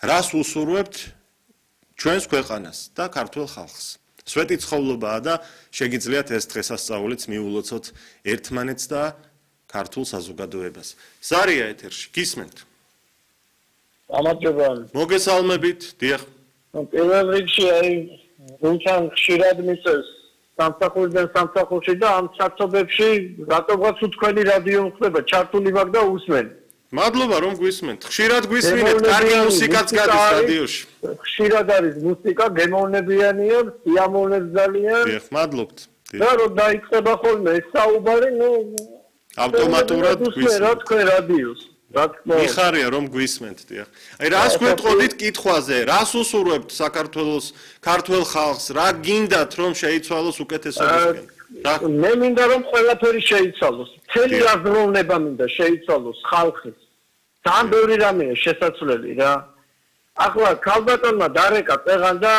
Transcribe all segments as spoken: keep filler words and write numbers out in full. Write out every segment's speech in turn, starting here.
რას უსურვებთ ჩვენს ქვეყანას და ქართულ ხალხს? სვეტი ცხოვრობაა და შეგიძლიათ ეს დღესასწაულიც მიულოცოთ ერთმანეთს და ქართულ საზოგადოებას. ზარია ეთერში, გისმენთ? გამარჯობა. მოგესალმებით, დიახ. პირველ რიგში აი რუსან ხშირად მისცეს სამსახურიდან სამსახურში და ამ საცობებში რატომღაც თქვენი რადიო ხდება, ჩართული ვარ და усმენ. მადლობა რომ გვისმენთ. ხშირად გვისმინეთ, კარგი მუსიკაც გადის რადიოში. ხშირად არის მუსიკა, გემოვნებიანია, სიამოვნებს ძალიან. დიახ, მადლობთ. და რომ დაიწყება ხოლმე ეს საუბარი, ნუ ავტომატურად გვისმენთ. რა თქვენ რადიოს? რა თქმა უნდა. მიხარია რომ გვისმენთ, დიახ. აი რას გვეტყოდით კითხვაზე? რას უსურვებთ საქართველოს ქართველ ხალხს? რა გინდათ რომ შეიცვალოს უკეთესობისკენ? მე მინდა რომ ყველაფერი შეიცვალოს. მთელი აზროვნება მინდა შეიცვალოს ხალხის. ძალიან ბევრი რამეა შესაძლებელი რა. ახლა ქალბატონმა დარეკა წეღან და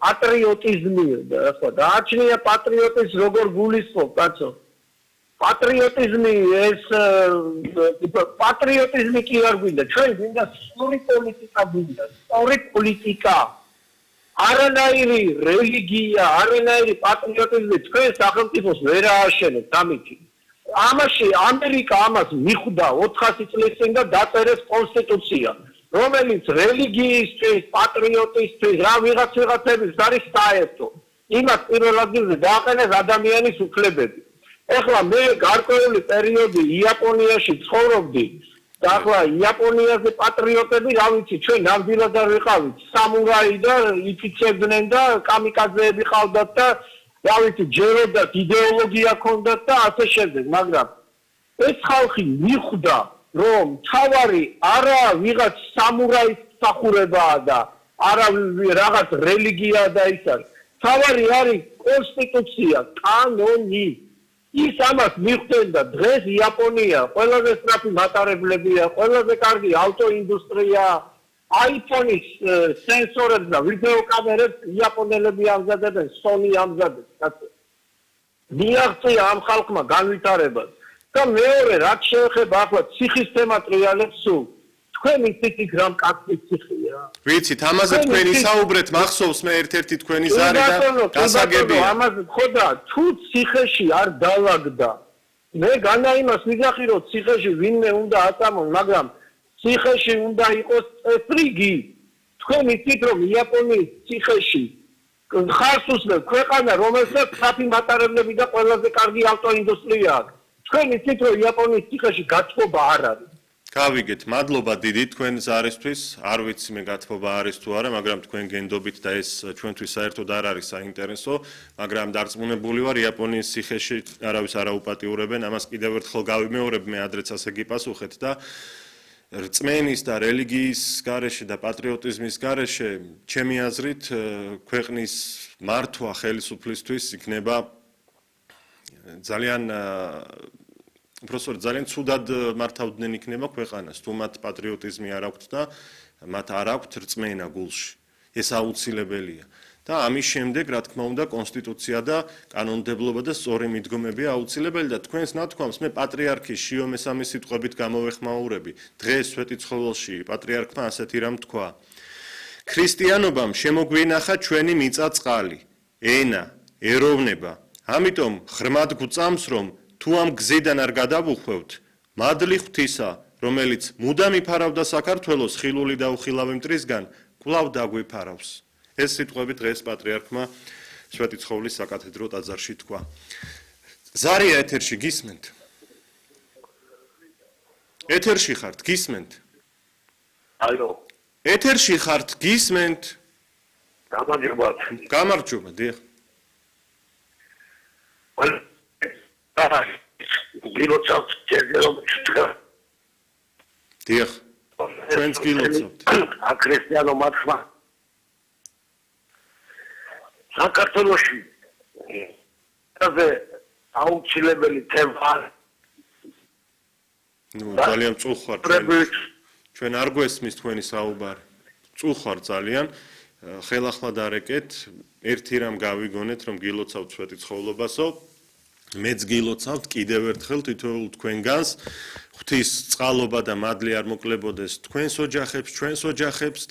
პატრიოტიზმი ახლა დააჩნია პატრიოტიზმს როგორ გულისხმობ, კაცო? პატრიოტიზმი ეს პატრიოტიზმი კი არ გვინდა, ჩვენ გვინდა სწორი პოლიტიკა გვინდა, სწორი პოლიტიკა. არანაირი რელიგია, არანაირი პატრიოტიზმი თქვენ სახელმწიფოს ვერ ააშენებთ ამითი. ამაში ამერიკა ამას მიხვდა ოთხასი წლის წინ და დაწერეს კონსტიტუცია, რომელიც რელიგიისთვის, პატრიოტისთვის, რა ვიღაც ვიღაცების არის საერთო. იმას პირველ ადგილზე დააყენეს ადამიანის უფლებები. ეხლა მე გარკვეული პერიოდი იაპონიაში ცხოვრობდი და ახლა იაპონიაზე პატრიოტები რა ვიცი ჩვენ ნამდვილად არ ვიყავით სამურაი და იფიცებდნენ და კამიკაძეები ყავდათ და რა ვიცი ჯეროდათ იდეოლოგია ჰქონდათ და ასე შემდეგ მაგრამ ეს ხალხი მიხვდა რომ თავარი არა ვიღაც სამურაის მსახურებაა და არა რაღაც რელიგია და ის არის თავარი არის კონსტიტუცია კანონი ის ამას მიხვდნენ და დღეს იაპონია ყველაზე სწრაფი მატარებლებია, ყველაზე კარგი ავტოინდუსტრია, აიფონის სენსორებს და ვიდეო კამერებს იაპონელები ამზადებენ, Sony ამზადებს, კაცო. მიაღწია ამ ხალხმა განვითარებას. და მეორე, რაც შეეხება ახლა ციხის თემატრიალებს სულ თქვენი ციხით რამ კაცი ციხია. ვიცით, ამაზე თქვენ ისაუბრეთ, მახსოვს მე ერთ-ერთი თქვენი ზარი და გასაგებია. ამაზე ხოდა თუ ციხეში არ დაალაგდა. მე განა იმას ვიძახი რომ ციხეში ვინმე უნდა აწამონ, მაგრამ ციხეში უნდა იყოს წესრიგი. თქვენ იცით რომ იაპონიის ციხეში ხარს უსმენთ ქვეყანა რომელსაც საფი მატარებლები და ყველაზე კარგი ავტოინდუსტრია აქვს. თქვენ იცით რომ იაპონიის ციხეში გათხოვა არ არის. გავიგეთ, მადლობა დიდი თქვენ ზარისთვის. არ ვიცი მე გათხოვა არის თუ არა, მაგრამ თქვენ გენდობით და ეს ჩვენთვის საერთოდ არ არის საინტერესო, მაგრამ დარწმუნებული ვარ იაპონიის ციხეში არავის არ აუპატიურებენ, ამას კიდევ ერთხელ გავიმეორებ, მე ადრეც ასე გიპასუხეთ და რწმენის და რელიგიის გარეშე და პატრიოტიზმის გარეშე, ჩემი აზრით, ქვეყნის მართვა ხელისუფლისთვის იქნება ძალიან უბრალოდ ძალიან ცუდად მართავდნენ იქნება ქვეყანას, თუ მათ პატრიოტიზმი არ აქვთ და მათ არ აქვთ რწმენა გულში. ეს აუცილებელია. და ამის შემდეგ, რა თქმა უნდა, კონსტიტუცია და კანონმდებლობა და სწორი მიდგომები აუცილებელი და თქვენს ნათქვამს მე პატრიარქი შიო მესამის სიტყვებით გამოვეხმაურები. დღეს სვეტიცხოველში პატრიარქმა ასეთი რამ თქვა. ქრისტიანობამ შემოგვინახა ჩვენი მიწა-წყალი, ენა, ეროვნება. ამიტომ ღრმად გვწამს, რომ თუ ამ გზიდან არ გადავუხვევთ, მადლი ღვთისა, რომელიც მუდამ იფარავდა საქართველოს ხილული და უხილავი მტრისგან, კვლავ დაგვიფარავს. ეს სიტყვები დღეს პატრიარქმა სვეტიცხოვლის საკათედრო ტაძარში თქვა. ზარია ეთერში გისმენთ? ეთერში ხართ, გისმენთ? ალო. ეთერში ხართ, გისმენთ? გამარჯობა. გამარჯობა, დიახ. გილოცავთ ჯერჯერობით. დიახ. ჩვენც გილოცავთ. აქრესიანო მართვა. საქართველოში ასე აუცილებელი თემა. ნუ ძალიან წუხარ. ჩვენ არ გვესმის თქვენი საუბარი. წუხარ ძალიან. ხელახლა დარეკეთ, ერთი რამ გავიგონეთ, რომ გილოცავთ სვეტიცხოვლობასო. მეც გილოცავთ კიდევ ერთხელ თითოეულ თქვენგანს ღვთის წყალობა და მადლი არ მოკლებოდეს თქვენს ოჯახებს, ჩვენს ოჯახებს